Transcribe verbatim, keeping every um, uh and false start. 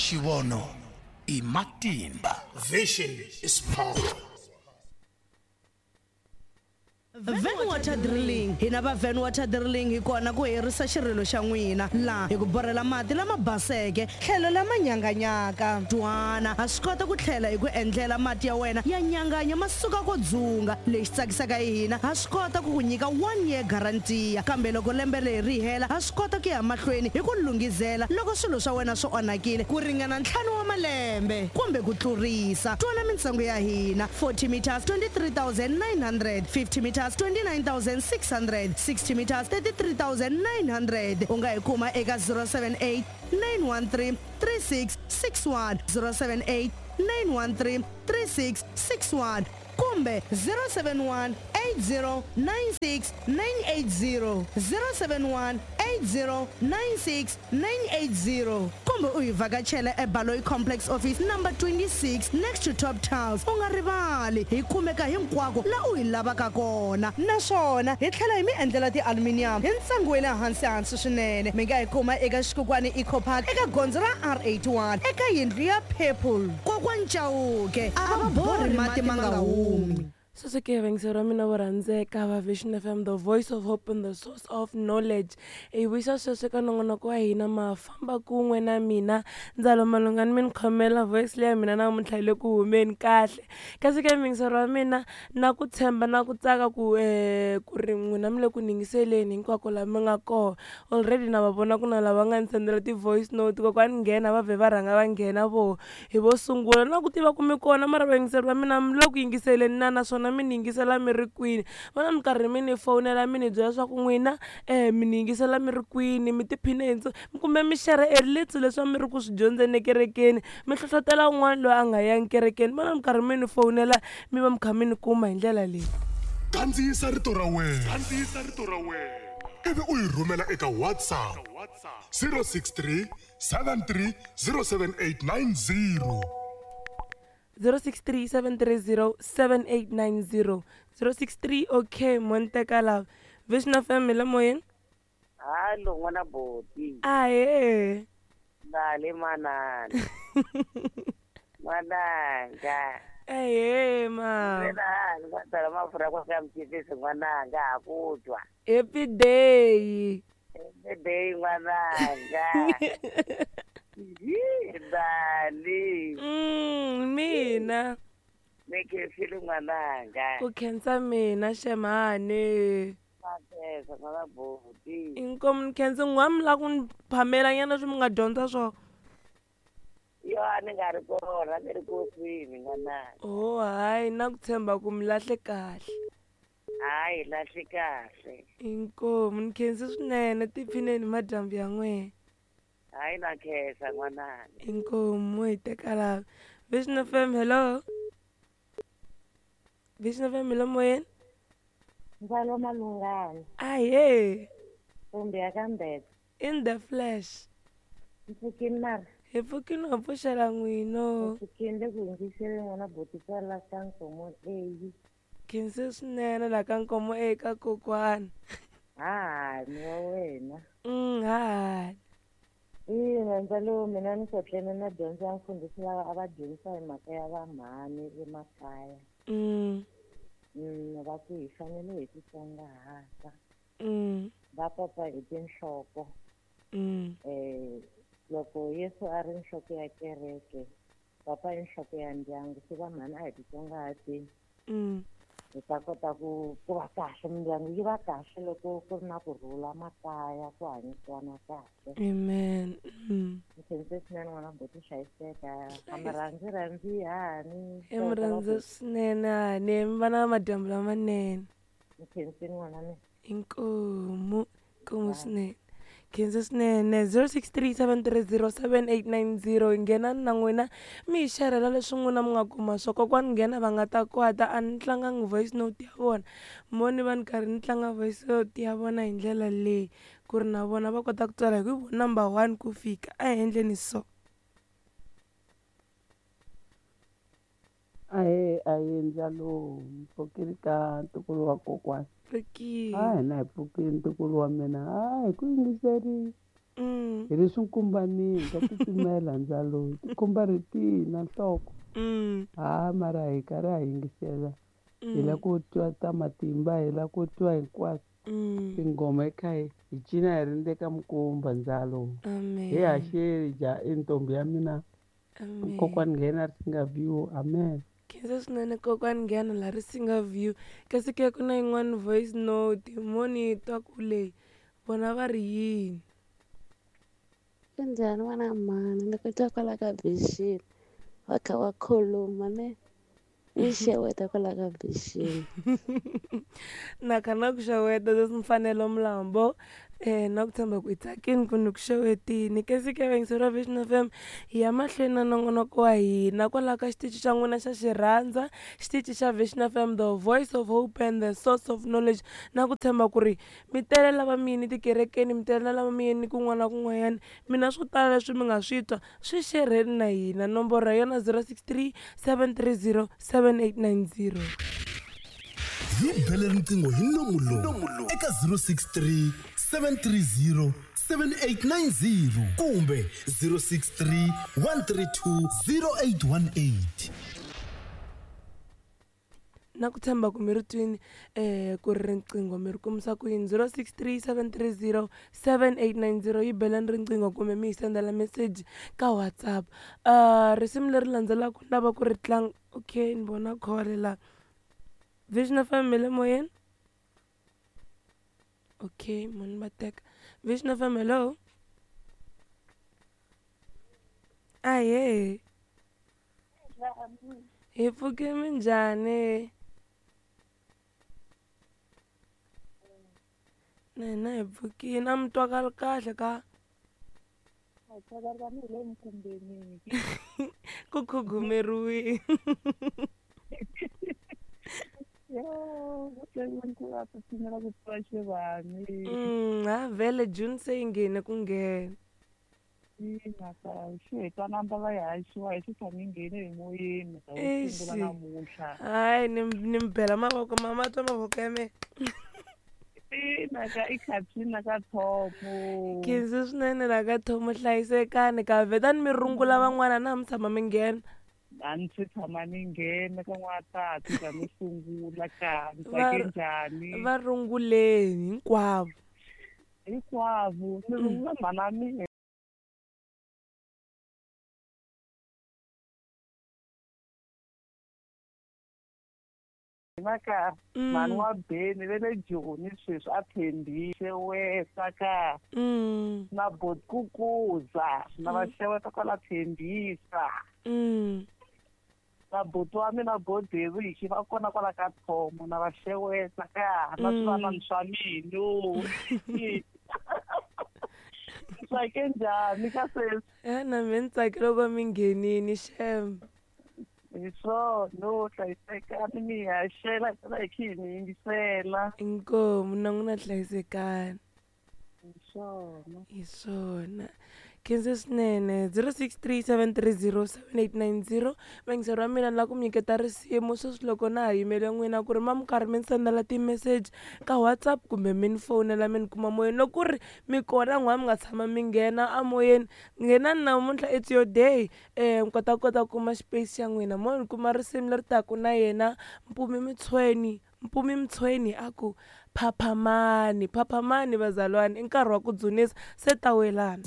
Xivono i matimba. Vision is power. Van Water Drilling. Hina va Van Water Drilling hi kona ku herisa xirilo xa n'wina laha hi ku borhela mati lama baseke tlhelo lama nyanganyaka. Twana ha swi kota ku tlhela hi ku endlela mati ya wena ya nyanganya ma suka ko dzunga. Lexi tsakisaka hi hina ha swi kota ku ku nyika one year guarantee, kambe loko lembe leri ri hela ha swi kota ku ya mahlweni hi ku lunghizela loko swilo swa wena swi onhakile ku ringana ntlhanu wa malembe kumbe ku tlurisa. Twana mintsengo ya hina: forty meters twenty-three thousand nine hundred, fifty meters twenty-nine thousand six hundred, sixty meters thirty-three thousand nine hundred. U nga hi kuma eka zero seven eight nine one three three six six one, zero seven eight nine one three three six six one kumbe zero seven one eight zero nine six nine eight zero, zero seven one eight zero nine six nine eight zero kumbe u hi vhakachela eBaloyi Complex Office number twenty-six next to Top Tiles. U nga rivali hi kumeka hinkwako la u hi lavaka kona, naswona hi tlhela hi mi endlela ti-aluminium hi ntsengo wa le hansi hansi swinene. Mi nga hi kuma eka Xikukwana Eco Park eka gondzo ra R eighty-one eka yindlu ya Purple. Kokwani Chauke a va borhi mati ma nga humi. Sweswo ke vayingiseri va mina vo rhandzeka va Vision F M, the voice of hope and the source of knowledge. Hi vuyisa sweswo eka nongonoko wa hina ma famba kun'we na mina Ndzalo Malungani, mi ni khomela voice leya mina namuntlha yi le ku humeni kahle. Kasi ke vayingiseri va mina na ku tshemba na ku tsaka ku ku ri n'wina mi le ku yingiseleni hinkwako laha mi nga kona. Already na va vona ku na lava nga ni sendela ti-voice note, kokwani nghena va vhe va rhanga va nghena voho hi vo sungula. Na ku tiva ku mi kona mara vayingiseri va mina mi le ku yingiseleni na naswona mi ni yingisela mi ri kwini. Vona minkarhi mi ni fonela mi ni byela leswaku n'wina mi ni yingisela mi ri kwini, mi tiphine hi ntso kumbe mi share e little leswi mi ri ku swi dyondzeni ekerekeni, mi hlohlotela un'wana loyi a nga yangi kerekeni. Vona minkarhi mi ni fonela mi va mi kha mi ni kuma hi ndlela leyi. Kandziyisa rito ra wena, kandziyisa rito ra wena ivi u yi rhumela eka WhatsApp zero six three seven three zero seven eight nine zero. zero six three seven three zero seven eight nine zero, zero six three. Okay, Monteka lava Vision F M le moyeni. Hallo n'wana boti. Ahe. Dale manana. N'wananga. Ahe ma. Mina ni nga mafurha ku ka mchipisi n'wananga ha ku twa. Happy day. Happy day n'wananga. Dali. Mm, mina. Ni khensile n'wananga. Ku khensa mina xemani. Makhensa n'wana boti. Inkomu ni khensa n'wa mi lava ku ni phamela nyana leswi mi nga dyondza swona. Yo a ni nga ri kona, ni ri kosini n'wananga. Oh hayi, na ku tshemba ku mi lahle kahle. Hayi lahle kahle. Inkomu ni khensa swinene, tiphineni madyambu ya n'wina. Hayi na khensa n'wananga. Inkomu hi teka lava. Vision F M, hello. Vision F M, hello moyeni. Ndzalo Malungani. Ahe. Kumbe ya ka Mbetse. In the flesh. Mpfukini mara. Hi pfukini wa pfuxela n'wino. Mpfukini le ku yingiseleni n'wana boti kwala ka Nkomo A. Khensa swinene la ka Nkomo A ka kokwana. Hahani wa wena. Mm, hahani. Ina Ndzalo mina ni kotlene na dyondzo ya mfundhisi lava a va dyondzisa hi mhaka ya vamhani emakaya. Mm. Mm, va ku hi fanele hi titsongahata. Mm. Va papa hi tinhloko. Mm. Eh, loko Yesu a ri nhloko ya kereke, papa i nhloko ya ndyangu, se vamhani a hi titsongahateni. Mm. Hi ta kota ku ku va kahle, mindyangu yi va kahle loko ku ri na kurhula makaya, ku hanyisana kahle. Amen. Mm. Ni khense swinene n'wana boti, hlayiseka. A mi rhandzi rhandzi hani. I mi rhandza swinene hani, mi va na madyambu lamanene. Ni khensile n'wana mina. Inkomu, inkomu swinene. Khensa swinene. Zero six three seven three zero seven eight nine zero. Nghenani na n'wina mi hi xerhela leswi n'wina mi nga kuma swo. Kokwani nghena va nga ta kwata, a ni tlangangi voice note ya vona. Mo ni va ni karhi ni tlanga voice note ya vona hi ndlela leyi ku ri na vona va kota ku tsala hi ku hi vona number one ku fika. A hi endleni so. Ahee, ahee Ndzalo, mpfukile ka ntukulu wa kokwana. Pfukile. A hina hi pfukile ntukulu wa mina. A hi ku yingiserile. Mm. Hi le swinkumbanini ka titimela ndzalo tikhumba ri tina nhloko. Mm. Ha mara hi karhi ha yingisela. Hi la Mm. ku twa ta matimba, hi la ku twa hinkwaswo. Mm. Tinghoma hi kha hi hi cina hi ri ndzeni ka minkumba ndzalo. Hi Amen. haxeli ja i ntombi ya mina. Amen. Kokwani nghena ri singa view. Amen. Khensa swinene kokwani nghena la ri singa view. Kasi ke ku na yin'wani voice note moni twa ku leyi vona va ri yini. Kunjhani n'wana mhani ni ku twa kwala ka Vision va kha va khuluma ne ni xeweta kwala ka Vision. Na kha na ku xeweta sesi Mfanelo Mlambo eh na ku tshemba ku i tsakini ku ni ku xewetini. Kasi ke vayingiseri va Vision F M hi ya mahlweni na nongonoko wa hina kwalaho ka xitichi xa n'wina xa Xirhandza, xitichi xa Vision F M, the voice of hope and the source of knowledge. Na ku tshemba ku ri mi tele lava mi yini tikerekeni, mi tele lava mi yini kun'wana na kun'wanyana, mina swo tala leswi mi nga swi twa swi xerheni na hina. Nomboro ya yona zero six three seven three zero seven eight nine zero. Hi bele riqingho hi nomu lowu eka zero six three seven three zero seven eight nine zero kumbe zero six three one three two zero eight one eight. Na ku tshemba ku mi ri twini eh ku ri riqingho mi ri kumisa ku yini zero six three seven three zero seven eight nine zero yi belani riqingho kumbe mi hi sendela message ka WhatsApp. Uh risimu leri landzelaka ni lava ku ri tlanga. Okay, ni vona call la. Vision F M le moyeni. Okay, munhu va teka. Vision F M, hello. Ahee. Hi pfuke minjhani? Na hina hi pfukile. A mi twakali kahle ka? Ku khugumeriwile. Mm, ha vhele June se yi nghene ku nghena. Eish. Hayi ni ni mi bela mavoko mama twa mavoko ya mina. Khensa swinene la ka Thomo, hlayisekani ka vhetani mi rungula van'wana na mi tshama mi nghena. A ni se tshama ni nghena ka n'watati ka no sungula ka ni Va tsake njhani. va runguleni hinkwavo. Hinkwavo ni rungula mhana mina. Ka mhani wa Beni ve le Joni sweswi a tshembile xeweta ka na botkukuza na va xeweta kwala tshembisa. Na buti wa mina Boderiki va kona kwala ka Thomo na va xeweta ka na swivanani swa mina. Tsake njhani ka sweswi? Eh na mina ni tsake loko mi nghenini xem. Hi swona hlayisekani mi haxela hi hi kha hi mi yingisela. Inkomu na n'wina hlayisekani. Hi swona. Hi swona. Khensa swinene zero six three seven three zero seven eight nine zero. Vayingiseri va mina ni lava ku mi nyiketa risimu sweswi loko na ha yimele n'wina ku ri ma mi karhi mi ni sendela ti-message ka WhatsApp kumbe mi ni fowunela mi ni kuma moyeni. Loko ku ri mi kona n'wana mi nga tshama mi nghena amoyeni, nghenani namuntlha it's your day. Eh mi kota kota ku kuma space xa n'wina. Mo ni kuma risimu leri taka na yena Mpumi Mtshweni. Mpumi Mtshweni a ku phaphamani, phaphamani vazalwane i nkarhi wa ku dzunisa se ta welana.